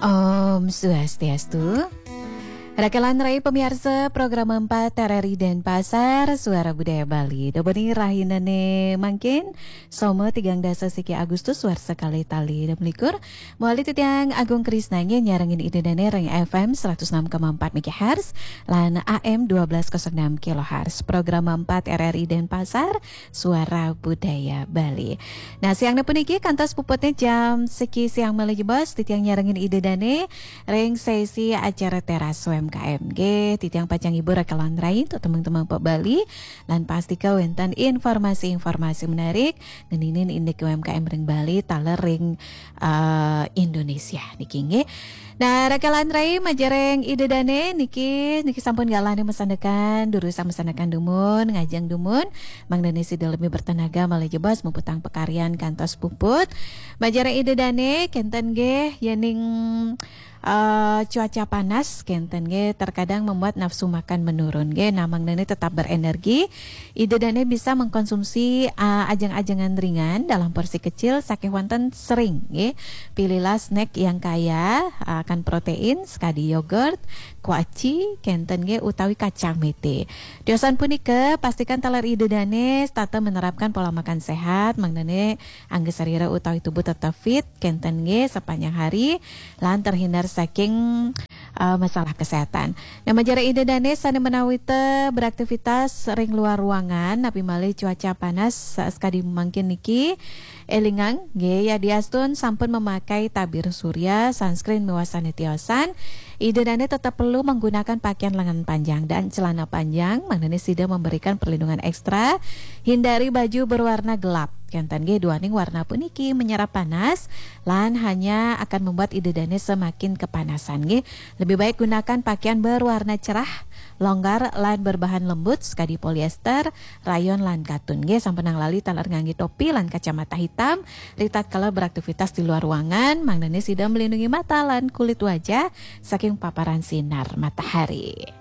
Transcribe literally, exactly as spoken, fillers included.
Om Swastiastu. Rakelan rai pamiarsa program empat R R I Denpasar, Suara Budaya Bali. Doboni rahinane mangkin, Soma tigang dasa siki Agustus warsa kalih tali dua likur. Mawali titiang Agung Krisna nggih nyarengin Ida Dane ring F M seratus enam koma empat megahertz lan A M dua belas kosong enam kilohertz. Program empat R R I Denpasar, Suara Budaya Bali. Nah, siang puniki kantos puputnya jam siki siang malih jebos, titiang nyarengin Ida Dane ring sesi acara Teras U M K M nggih. Titiang pacang ibu rakelan rai untuk teman-teman Pak Bali, lan pastika wenten informasi-informasi menarik ngeninin indik U M K M ring Bali, taler ring, eh, Indonesia niki nggih. Nah, rakelan rai majeng ring Ida Dane niki, niki sampun galahne masandekan, durusang masandekan dumun, ngajeng dumun, mangdane sida lebih bertenaga malih jebos muputang pakaryan kantos puput. Majeng ring Ida Dane kenten nggih, yening, eh, cuaca panas kenten nggih, terkadang membuat nafsu makan menurun nggih. Nah, mangdane tetap berenergi, Ida Dane bisa mengkonsumsi, ah, ajeng-ajengan ringan dalam porsi kecil, saking wonten sering, nggih. Pilihlah snack yang kaya akan protein, sekadi yogurt, kuaci, kenten nggih, utawi kacang mete. Tiosan punika, pastikan taler Ida Dane setata menerapkan pola makan sehat, mangdane angga sarira utawi tubuh tetap fit, kenten nggih, sepanjang hari, lan terhindar saking, eh, masalah kesehatan. Nah, majeng ring Ida Dane sane menawita beraktivitas ring luar ruangan, napi malih cuaca panas sa-, sakadi mangkin niki, elingang, nggih, yadiastun sampun memakai tabir surya, sunscreen miwah sane tiosan, Ida Dane tetap perlu menggunakan pakaian lengan panjang dan celana panjang, mangdane sida memberikan perlindungan ekstra, hindari baju berwarna gelap. Kenten nggih, duaning warna puniki menyerap panas, lan hanya akan membuat Ida Dane semakin kepanasan nggih. Lebih baik gunakan pakaian berwarna cerah, longgar, lan berbahan lembut, sekadi poliéster, rayon, lan katun nggih. Sampunang lali taler ngangge topi lan kacamata hitam, ritatkala beraktivitas di luar ruangan, mangdane sida melindungi mata lan kulit wajah saking paparan sinar matahari.